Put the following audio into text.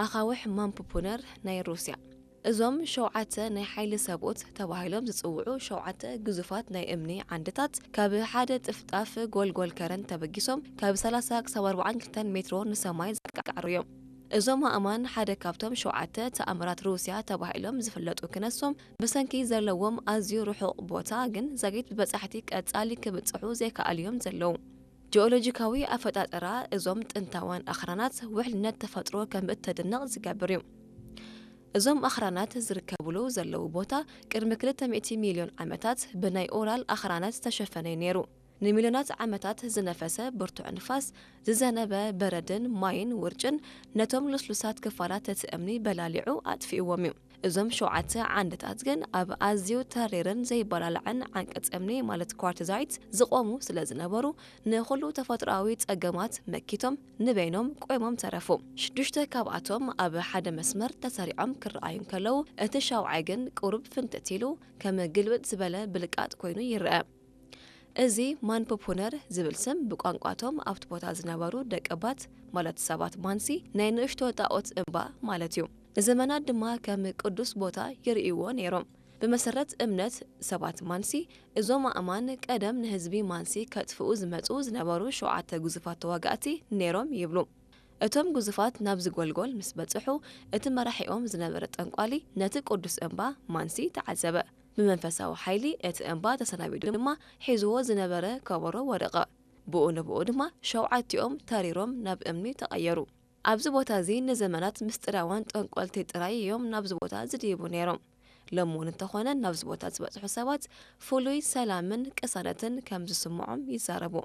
ኣኻውሕ ማምፕ ፑነር ናይ ሩስያ። እዞም ሸውዓተ ናይ ሓይሊ ሰብኡት ተባሂሎም ዝጽውዑ ሸውዓተ ግዙፋት ናይ እምኒ ዓንድታት ካብ ሓደ ጥፍጣፍ ጎልጎል ከረን ተበጊሶም ካብ ሰላሳ ክሳብ ኣርባዓን ክልተን ሜትሮ ንሰማይ ዘቃዕሩ እዮም። እዞም ኣእማን ሓደ ካብቶም ሸውዓተ ተኣምራት ሩስያ ተባሂሎም ዝፍለጡ ክነሶም ብሰንኪ ዘለዎም ኣዝዩ ርሑቕ ቦታ ግን ዛጊት ብበጻሕቲ ቀጻሊ ክብጽሑ ዘይከኣሉ እዮም ዘለዉ። ጂኦሎጂካዊ ኣፈጣጠራ እዞም ጥንታውያን ኣኽራናት ውሕልነት ተፈጥሮ ከም እተድንቕ ዝገብር እዩ። እዞም ኣኽራናት ዝርከብሉ ዘለዉ ቦታ ቅድሚ ክልተ ሚእቲ ሚልዮን ዓመታት ብናይ ኦራል ኣኽራናት ዝተሸፈነ እዩ ነይሩ። ንሚልዮናት ዓመታት ዝነፈሰ ብርቱዕ ንፋስ፣ ዝዘነበ በረድን ማይን ውርጭን ነቶም ልስሉሳት ክፋላት እቲ እምኒ በላሊዑ ኣጥፊእዎም እዩ። እዞም ሸውዓተ ዓንድታት ግን ኣብ ኣዝዩ ተሪርን ዘይበላልዕን ዓንቀጽ እምኒ ማለት ኳርትዛይት ዝቖሙ ስለ ዝነበሩ ንኹሉ ተፈጥሮኣዊ ጸገማት መኪቶም ንበይኖም ቆይሞም ተረፉ። ሽዱሽተ ካብኣቶም ኣብ ሓደ መስመር ተሰሪዖም ክረኣዩ እንከለዉ እቲ ሻውዓይ ግን ቁሩብ ፍንትት ኢሉ ከም ግልብጥ ዝበለ ብልቃጥ ኮይኑ ይረአ። እዚ ማንፖፑነር ዝብል ስም ብቋንቋቶም ኣብቲ ቦታ ዝነበሩ ደቀባት ማለት ሰባት ማንሲ ናይ ንእሽቶ ጣኦት እምባ ማለት እዩ። ንዘመናት ድማ ከም ቅዱስ ቦታ ይርእይዎ ነይሮም። ብመሰረት እምነት ሰባት ማንሲ እዞም ኣእማን ቀደም ንህዝቢ ማንሲ ከጥፍኡ ዝመጹ ዝነበሩ ሸውዓተ ግዙፋት ተዋጋእቲ ነይሮም ይብሉ። እቶም ግዙፋት ናብዚ ጎልጎል ምስ በጽሑ እቲ መራሒኦም ዝነበረ ጠንቋሊ ነቲ ቅዱስ እምባ ማንሲ ተዓዘበ። ብመንፈሳዊ ሓይሊ እቲ እምባ ተሰናቢዱ ድማ ሒዝዎ ዝነበረ ከበሮ ወደቐ። ብኡ ንብኡ ድማ ሸውዓቲኦም ተሪሮም ናብ እምኒ ተቐየሩ። ኣብዚ ቦታ እዚ ንዘመናት ምስጢራውያን ጠንቆልቲ ጥራይ እዮም ናብዚ ቦታ ዝድይቡ ነይሮም። ሎሚ እውን እንተኾነ ናብዚ ቦታ ዝበጽሑ ሰባት ፍሉይ ሰላምን ቅሳነትን ከም ዝስምዖም ይዛረቡ።